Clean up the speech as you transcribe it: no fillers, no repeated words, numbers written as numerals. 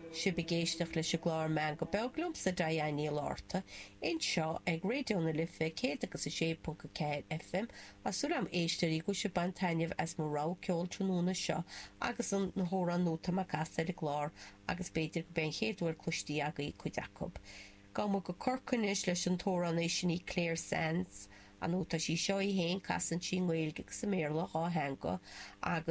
Sibh ag éisteacht leis an gclár Meangadh Beag liomsa, Diane Ní Fhlatharta, anseo ag Raidió na Life 106.4 FM. Tá súil agam, a éisteoirí, go bhfuil sibh ag baint taitneamh as mo rogha ceoil tráthnóna seo agus na hamhráin nua atá mé ag casadh ar an gclár agus b'fhéidir gurb é an chéad uair cloistí agaibh cuid acu. Gabhfaidh muid go Corcaigh anois leis an t-amhránaí sin í Clare Sands. Ar ndóigh tá sí seo í féin, casann sí i nGaeilge agus i mBéarla, 2 theanga, agus.